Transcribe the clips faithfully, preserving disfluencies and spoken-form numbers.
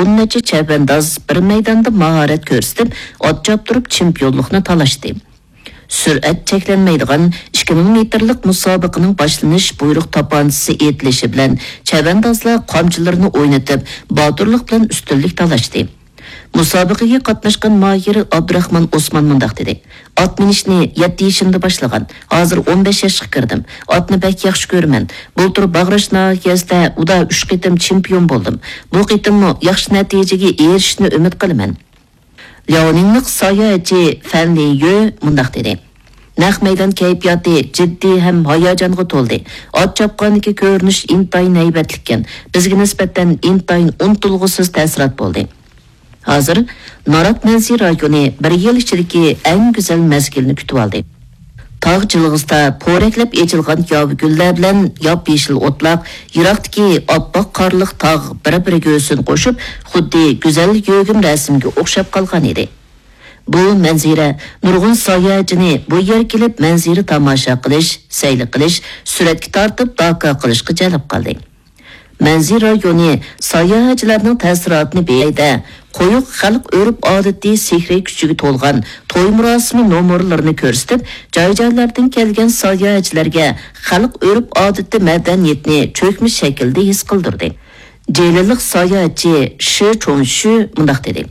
ئون نەچچە چەۋەنداز بىر مەيداندا ماھارەت كۆرسىتىپ، ئات چاپتۇرۇپ چېمپىيونلۇقنى تالاشتى. سۈرئەت چەكلەنمەيدىغان ئىككى مىڭ مېتىرلىق مۇسابىقىنىڭ باشلىنىش بۇيرۇق تاپانچىسى ئېيتىلىشى بىلەن چەۋەندازلار قامچىلىرىنى ئوينىتىپ، باتۇرلۇق بىلەن ئۈستۈنلۈك تالاشتى. مۇسابىقىگە قاتناشقان ماھىر ئابدۇراخمان ئوسمان مۇنداق دېدى: «ئات مىنىشنى يەتتە يېشىمدا باشلىغان، ھازىر ئون بەش ياشقا كىردىم. ئاتنى بەك ياخشى كۆرىمەن. بۇلتۇر باغراش ناھىيەسىدە ئۇدا ئۈچ قېتىم چېمپىيون بولدۇم. بۇ قېتىممۇ ياخشى نەتىجىگە ئېرىشىشنى ئۈمىد قىلىمەن.» لياۋنىڭلىق ساياھەتچى فەن لىيۈ مۇنداق دېدى: «نەق مەيدان كەيپىياتى جىددىي ھەم ھاياجانغا تولدى. ئات چاپقاندىكى كۆرۈنۈش ئىنتايىن ھەيۋەتلىككەن. بىزگە نىسبەتەن ئىنتايىن ئۇنتۇلغۇسىز تەسىرات بولدى.» ھازىر نارات مەنزىرە رايونى بىر يىل ئىچىدىكى ئەڭ گۈزەل مەزگىلنى كۈتۈۋالدى. تاغ جىلغىسىدا پورەكلەپ ئېچىلغان ياۋا گۈللەر بىلەن ياپيېشىل ئوتلاق، يىراقتىكى ئاپئاق قارلىق تاغ بىر-بىرىگە ھۆسن قوشۇپ، خۇددى گۈزەل يۆگىمە رەسىمگە ئوخشاپ قالغان ئىدى. بۇ مەنزىرە نۇرغۇن ساياھەتچىنى بۇ يەرگە كېلىپ مەنزىرە تاماشا قىلىش، سەيلە قىلىش، سۈرەتكە تارتىپ داكا قىلىشقا جەلپ قىلدى. مەنزىرە رايونى ساياھەتچىلەرنىڭ تەسىراتىنى بېيىدە قويۇق خەلق ئۆرپ-ئادىتى سېھرىي كۈچىگە تولغان توي مۇراسىمى نومۇرلىرىنى كۆرسىتىپ، جاي-جايلاردىن كەلگەن ساياھەتچىلەرگە خەلق ئۆرپ-ئادىتى مەدەنىيىتىنى چۆكمە شەكىلدە ھېس قىلدۇردى. جىلىلىق ساياھەتچى شى چوڭشۈ مۇنداق دېدى: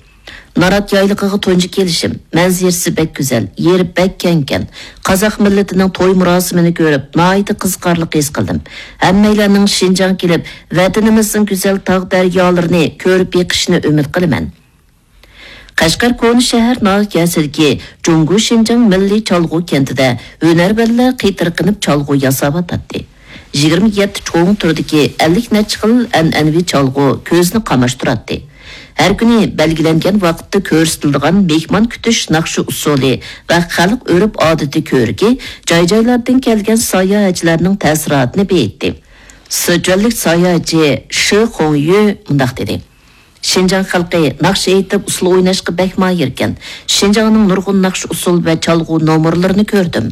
«نارات يايلىقىغا تۇنجى كېلىشىم. مەنزىرىسى بەك گۈزەل، يېرى بەك كەڭكەن. قازاق مىللىتىنىڭ توي مۇراسىمىنى كۆرۈپ، ناھايىتى قىزىقارلىق ھېس قىلدىم. ھەممەيلەننىڭ شىنجاڭ كېلىپ، ۋەتىنىمىزنىڭ گۈزەل تاغ دەريالىرىنى كۆرۈپ بېقىشىنى ئۈمىد قىلىمەن.» قەشقەر كونا شەھەر ناھىيەسىدىكى جۇڭگو شىنجاڭ مىللىي چالغۇ كەنتىدە ھۈنەرۋەنلەر قېتىرقىنىپ چالغۇ ياساۋاتاتتى. يىگىرمە يەتتە چوڭ تۈردىكى ئەللىك نەچچە خىل ئەنئەنىۋى چالغۇ كۆزنى قاماشتۇراتتى. ھەر كۈنى بەلگىلەنگەن ۋاقىتتا كۆرسىتىلىدىغان مېھمان كۈتۈش ناخشا ئۇسسۇلى ۋە خەلق ئۆرپ-ئادىتى كۆرىكى جاي-جايلاردىن كەلگەن ساياھەتچىلەرنىڭ تەسىراتىنى بېيىتتى. سىچۈەنلىك ساياھەتچى شى خۇڭيۈ مۇنداق دېدى: «شىنجاڭ خەلقى ناخشا ئېيتىپ، ئۇسسۇل ئويناشقا بەك ماھىركەن. شىنجاڭنىڭ نۇرغۇن ناخشا ئۇسسۇل ۋە چالغۇ نومۇرلىرىنى كۆردۈم.»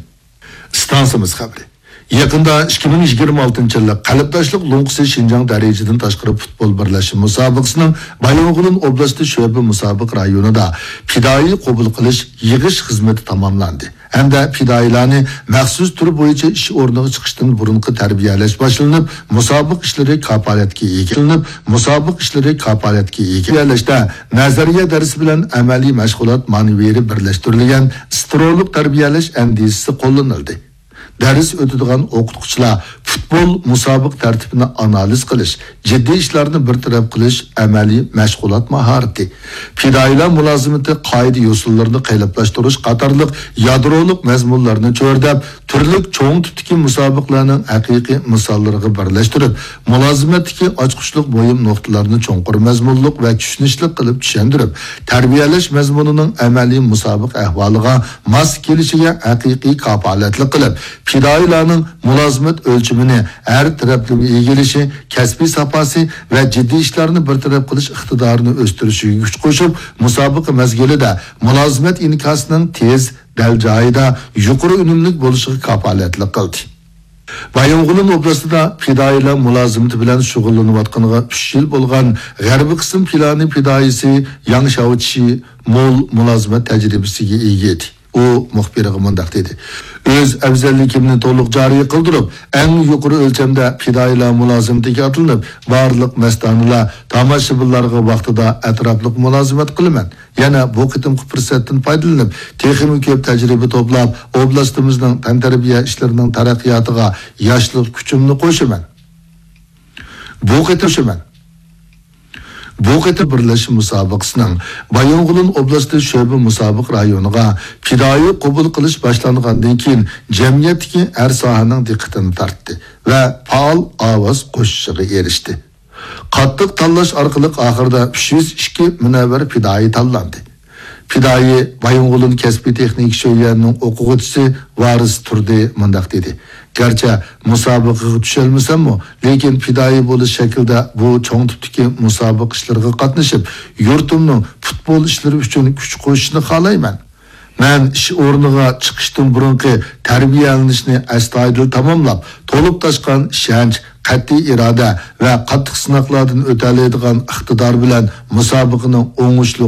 ئىستانسىمىز خەۋىرى. يېقىندا ئىككى مىڭ يىگىرمە ئالتىنچى يىللىق قەلبداشلىق لوڭقىسى شىنجاڭ دەرىجىدىن تاشقىرى پۇتبول بىرلەشمە مۇسابىقىسىنىڭ بايىنغولىن ئوبلاستى شۆبە مۇسابىقە رايونىدا پىدائىي قوبۇل قىلىش، يىغىش خىزمىتى تاماملاندى ھەمدە پىدائىيلارنى مەخسۇس تۈر بويىچە ئىش ئورنىغا چىقىشتىن بۇرۇنقى تەربىيەلەش باشلىنىپ، مۇسابىقە ئىشلىرى كاپالەتكە ئىگە قىلىنىپ، مۇسابىقە ئىشلىرى كاپالەتكە ئىگە تەربىيەلەشتە نەزەرىيە دەرسى بىلەن ئەمەلىي مەشغۇلات مانېۋىرى بىرلەشتۈرۈلگەن سترولۇق تەربىيەلەش ئەندىزىسى قوللىنىلدى. دەرس ئۆتىدىغان ئوقۇتقۇچىلار پۇتبول مۇسابىقە تەرتىپىنى ئانالىز قىلىش، جىددىي ئىشلارنى بىر تەرەپ قىلىش ئەمەلىي مەشغۇلات ماھارىتى، پىدائىيلار مۇلازىمىتى قائىدە-يوسۇنلىرىنى قېلىپلاشتۇرۇش قاتارلىق يادرولۇق مەزمۇنلارنى چۆرىدەپ، تۈرلۈك چوڭ تىپتىكى مۇسابىقىلەرنىڭ ھەقىقىي مىساللىرىغا بىرلەشتۈرۈپ، مۇلازىمەتتىكى ئاچقۇچلۇق مۇھىم نۇقتىلارنى چوڭقۇر مەزمۇنلۇق ۋە چۈشىنىشلىك قىلىپ چۈشەندۈرۈپ، تەربىيەلەش مەزمۇنىنىڭ ئەمەلىي مۇسابىقە ئەھۋالىغا ماس كېلىشىگە ھەقىقىي كاپالەتلىك قىلىپ، پىدائىيلارنىڭ مۇلازىمەت ئۆلچىمىنى ھەر تەرەپلىمە ئىگىلىشى، كەسپىي ساپاسى ۋە جىددىي ئىشلارنى بىر تەرەپ قىلىش ئىقتىدارىنى ئۆستۈرۈشىگە كۈچ قوشۇپ، مۇسابىقە مەزگىلىدە مۇلازىمەت ئىنكاسىنىڭ تېز، دەل جايىدا، يۇقىرى ئۈنۈملۈك بولۇشىغا كاپالەتلىك قىلدى. بايىنغولىن ئوبلاستىدا پىدائىيلار مۇلازىمىتى بىلەن شۇغۇللىنىۋاتقىنىغا ئۈچ يىل بولغان غەربىي قىسىم پىلانى پىدائىيسى ياڭ شياۋچى مول مۇلازىمەت تەجرىبىسىگە ئىگە ئىدى. ئۇ مۇخبىرغا مۇنداق دېدى: «ئۆز ئەۋزەللىكىمنى تولۇق جارى قىلدۇرۇپ، ئەڭ يۇقىرى ئۆلچەمدە پىدائىيلار مۇلازىمىتىگە ئاتلىنىپ، بارلىق مەستانىلار، تاماشىبىنلارغا ۋاقتىدا ئەتراپلىق مۇلازىمەت قىلىمەن. يەنە بۇ قېتىمقى پۇرسەتتىن پايدىلىنىپ، تېخىمۇ كۆپ تەجرىبە توپلاپ، ئوبلاستىمىزنىڭ تەنتەربىيە ئىشلىرىنىڭ تەرەققىياتىغا ياشلىق كۈچۈمنى قوشىمەن. بۇ قېتىم، بۇ قېتىم بىرلەشمە مۇسابىقىسىنىڭ بايىنغولىن ئوبلاستى شۆبە مۇسابىقە رايونىغا پىدائىي قوبۇل قىلىش باشلانغاندىن كېيىن، جەمئىيەتتىكى ھەر ساھەنىڭ دىققىتىنى تارتتى ۋە پائال ئاۋاز قوشۇشىغا ئېرىشتى. قاتتىق تاللاش ئارقىلىق ئاخىرىدا ئۈچ يۈز ئىككى مۇنەۋۋەر پىدائىي تاللاندى.» پىدائىي بايىنغولىن كەسپىي تېخنىكا شۆيۈەنىنىڭ ئوقۇغۇچىسى ۋارىس تۇردى مۇنداق دېدى: «گەرچە مۇسابىقىگە چۈشەلمىسەممۇ، لېكىن پىدائىي بولۇش شەكلىدە بۇ چوڭ تىپتىكى مۇسابىقە ئىشلىرىغا قاتنىشىپ، يۇرتۇمنىڭ پۇتبول ئىشلىرى ئۈچۈن كۈچ قوشۇشىنى خالايمەن.» مەن ئىش ئورنىغا چىقىشتىن بۇرۇنقى تەربىيەلىنىشنى ئەستايىدىل تاماملاپ، تولۇپ تاشقان ئىشەنچ، قەتئىي ئىرادە ۋە قاتتىق سىناقلاردىن ئۆتەلەيدىغان ئىقتىدار بىلەن مۇسابىقىنىڭ ئوڭۇشلۇق